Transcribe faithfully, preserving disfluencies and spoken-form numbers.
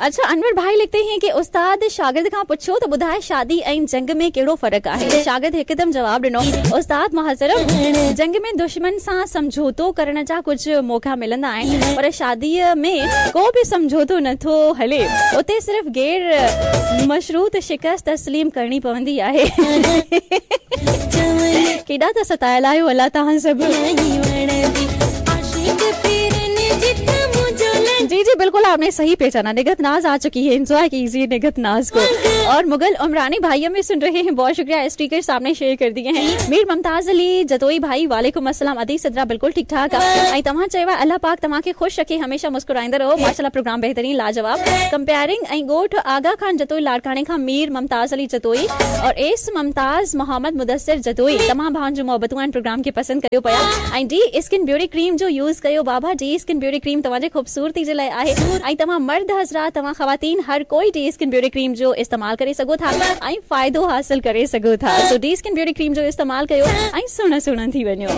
अच्छा, अनवर भाई लिखते हैं कि उस्ताद शागिर्द खां पुछियो त ॿुधाए शादी ऐं जंग में कहिड़ो फ़र्क़ु आहे। शागिर्द हिकदमि जवाब ॾिनो, उस्ताद मोहतरम, जंग में दुश्मन सां सम्झौतो करण जा कुझु मौक़ा मिलंदा आहिनि, पर शादीअ में को बि सम्झौतो नथो हले, उते सिर्फ़ गैर मशरूत शिकस्त तस्लीम करणी पवंदी आहे। केॾा त सतायल आहियो अलाह तव्हां सभु। जी जी बिल्कुल आपने सही पहचाना, निगत नाज आ चुकी है, एंजॉय कीजिए निगत नाज को। और मुगल उमरानी भाई हमें सुन रहे हैं, बहुत शुक्रिया, स्टिकर सामने शेयर कर दिए हैं। मीर मुमताज अली जतोई भाई वालेकुम अस्सलाम, अदी सदरा बिल्कुल ठीक ठाक। ऐं तव्हां चयो आहे अल्लाह पाक तव्हांखे ख़ुशि रखे, हमेशा मुस्कुराईंदा रहो। माशाल्लाह प्रोग्राम बेहतरीन लाजवाब। कंपेयरिंग ऐं ॻोठ आगा खान जतोई लाड़काणे खां मीर मुमताज अली जतोई और एस मुमताज मोहम्मद मुदस्सिर जतोई, तमाम भाउनि जूं मोहबतूं आहिनि, प्रोग्राम खे पसंदि कयो पिया। ऐं डी स्किन ब्यूटी क्रीम जो यूज़ कयो बाबा, डी स्किन ब्यूटी क्रीम तव्हांजे ख़ूबसूरती जे लाइ आहे। ऐं तव्हां मर्द हज़रात, तव्हां ख़वातीन, हर कोई डी स्किन ब्यूटी क्रीम जो इस्तेमाल करे सघो था ऐं फ़ाइदो हासिल करे सघो था। सो डी स्किन ब्यूटी क्रीम जो इस्तेमाल कयो ऐं सुहिणा सुहिणा थी वञो।